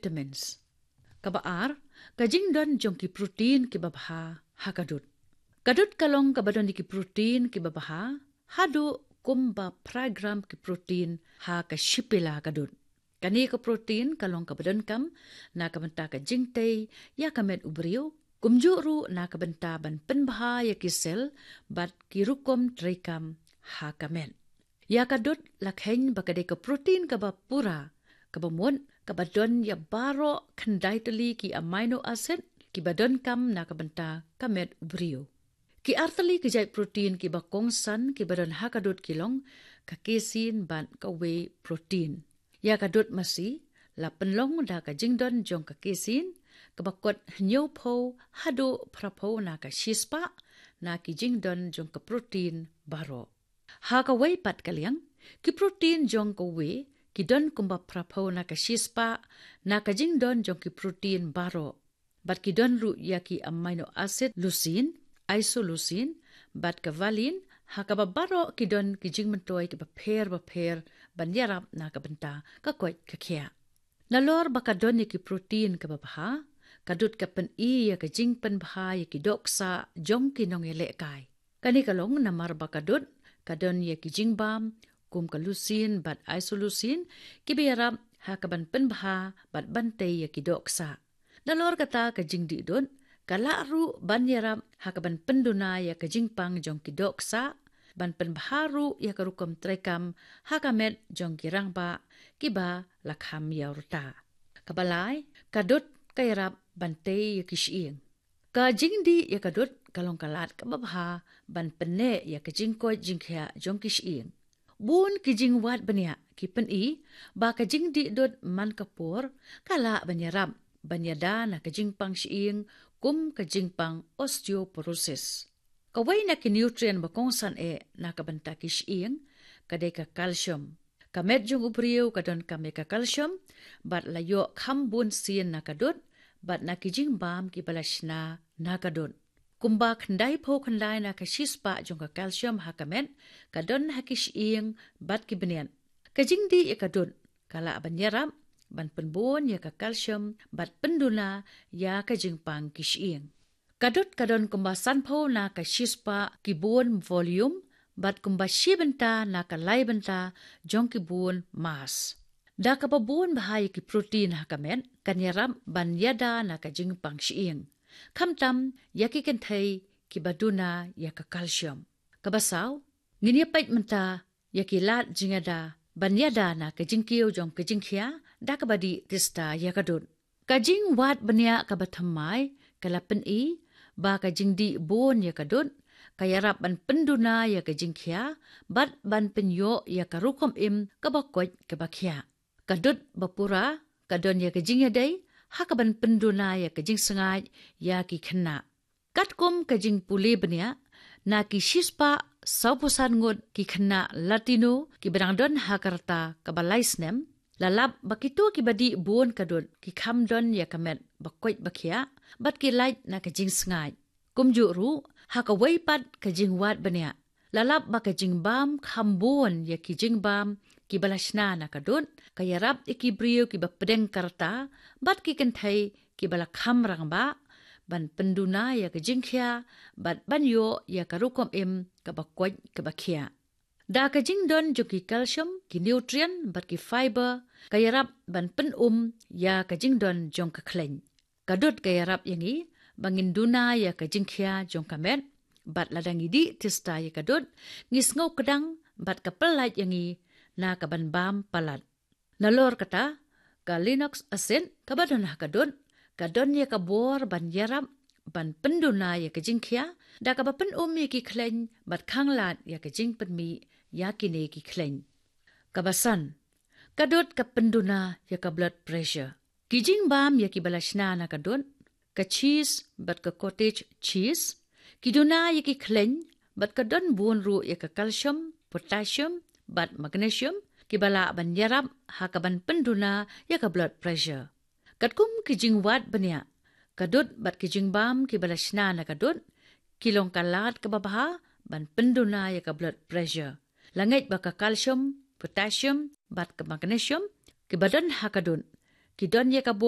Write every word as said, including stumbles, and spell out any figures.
vitamins. Kaba ar, ka jingdon jong ki protein kiba bha ha ka dud. Ka dud ka long kaba don ïa ki protein kiba bha haduh kumba phra gram ki protein ha ka shi pela ka dud. Kane ka protein ka long kaba donkam na ka bynta ka jingtei ïa ka met u briew, kumjuh ruh na ka bynta ban pynbha ïa ki sel bad ki rukom treikam ha ka met. Ïa ka dud la kheiñ ba ka dei ka protein kaba pura, kaba mut, kaba don ïa baroh khyndai tylli ki amino acid kiba donkam na ka bynta ka met u briew. Ki ar tylli ki jait protein kiba kongsan kiba don ha ka dud ki long ka casein bad ka whey protein. Ïa ka dud masi la pynlong da ka jingdon jong ka casein kaba kot hynñiewphew haduh phraphew na ka shispah na ki jingdon jong ka protein baroh. Ha kawei pat ka liang, ki protein jong ka whey ki don kumba phraphew na ka shispah na ka jingdon jong ki protein baroh. Bad ki don ruh ïa ki amino acid leucine, isoleucine, bad ka valine, ha kaba baroh ki don ki jingmyntoi kiba pher bapher ban ïarap na ka bynta ka koit ka khiah. Nalor ba ka don ïa ki protein kaba bha, ka dud ka pyni ïa ka jingpynbha ïa ki doh ksah jong ki nongïalehkai. Kane ka long namar ba ka dud ka don ïa ki jingbam kum ka leucine bad isoleucine kiba ïarap ha kaban pynbha bad ban tei ïa ki doh ksah. Nalor kata ka jingdih dud ka lah ruh ban ïarap ha kaban pynduna ïa ka jingpang jong ki doh ksah, ban pynbha ruh ïa ka rukom treikam ha ka met jong ki rangbah kiba la kham ïa u rta. Kaba lai, ka dud ka ïarap ban tei ïa ki shyieng. Ka jingdih ïa ka dud ka long ka lad kaba bha ban pynneh ïa ka jingkoit jingkhiah jong ki shyieng. Bun ki jingwad bniah ki pyni ba ka jingdih dud man ka por ka lah ban ïarap ban ïada na ka jingpang shyieng kum ka jingpang osteoporosis. Kawei na ki nutrient ba kongsan eh na ka bynta ki shyieng ka dei ka calcium. Ka met jong u briew ka donkam ïa ka calcium bad la ïoh kham bun sien na ka dud bad na ki jingbam kiba la shna na ka dud. Kumba khyndai phew khyndai na ka shispah jong ka calcium ha ka met ka don ha ki shyieng bad ki bniat. Ka jingdih ïa ka dud ka lah ban ïarap ban pynbun ïa ka calcium bad pynduna ïa ka jingpang ki shyieng. Ka dud ka don kumba sanphew na ka shispah ki bun volume bad kumba shi bynta na ka lai bynta jong ki bun mass. Da kaba bun bha ïa ki protein ha ka met kan ïarap ban ïada na ka jingpang shyieng, khamtam ïa ki kynthei kiba duna ïa ka calcium. Kaba saw, ngin ïa peit mynta ïa ki lad jingïada ban ïada na ka jingkiew jong ka jingkhia da kaba dih tista ïa ka dud. Ka jingwad bniah kaba thymmai ka la pyni ba ka jingdih bun ïa ka dud ka ïarap ban pynduna ïa ka jingkhia bad ban pynïoh ïa ka rukom im kaba koit kaba khiah. Ka dud ba pura ka don ïa ka jingïadei ha kaban pynduna ïa ka jingsngaid ïa ki khynnah. Katkum ka jingpule bniah, na ki shispah sawphew san ngut ki khynnah Latino kiba dang don ha ka rta kaba lai snem, la lap ba kito kiba dih bun ka dud ki kham don ïa ka met ba koit ba khiah bad ki lait na ka jingsngaid. Kumjuh ruh, ha kawei pat ka jingwad bniah, la lap ba ka jingbam kham bun ïa ki jingbam kiba la shna na ka dud ka ïarap ïa ki briew kiba pdeng ka rta bad ki kynthei kiba la kham rangbah ban pynduna ïa ka jingkhia bad ban ïoh ïa ka rukom im kaba koit kaba khiah. Da ka jingdon jong ki calcium, ki nutrient bad ki fiber ka ïarap ban pynum ïa ka jingdon jong ka khleiñ. Ka dud ka ïarap ïa ngi ba ngin duna ïa ka jingkhia jong ka met bad lada ngi dih tista ïa ka dud ngi sngew kdang bad ka pyllait ïa ngi na kaban bam palat. Nalor kata, ka linoleic acid kaba don ha ka dud ka don ïa ka bor ban ïarap ban pynduna ïa ka jingkhia da kaba pynum ïa ki khleiñ bad khanglad ïa ka jingpynmih ïa kine ki khleiñ. Kaba san, ka dud ka pynduna ïa ka blood pressure. Ki jingbam ïa kiba la shna na ka dud, ka cheese bad ka cottage cheese, ki duna ïa ki khleiñ bad ka don bun ruh ïa ka calcium, potassium bad magnesium kiba lah ban ïarap ha kaban pynduna ïa ka blood pressure. Katkum ki jingwad bniah, ka dud bad ki jingbam kiba la shna na ka dud ki long ka lad kaba bha ban pynduna ïa ka blood pressure. La ngeit ba ka calcium, potassium bad ka magnesium kiba don ha ka dud ki don ïa ka bor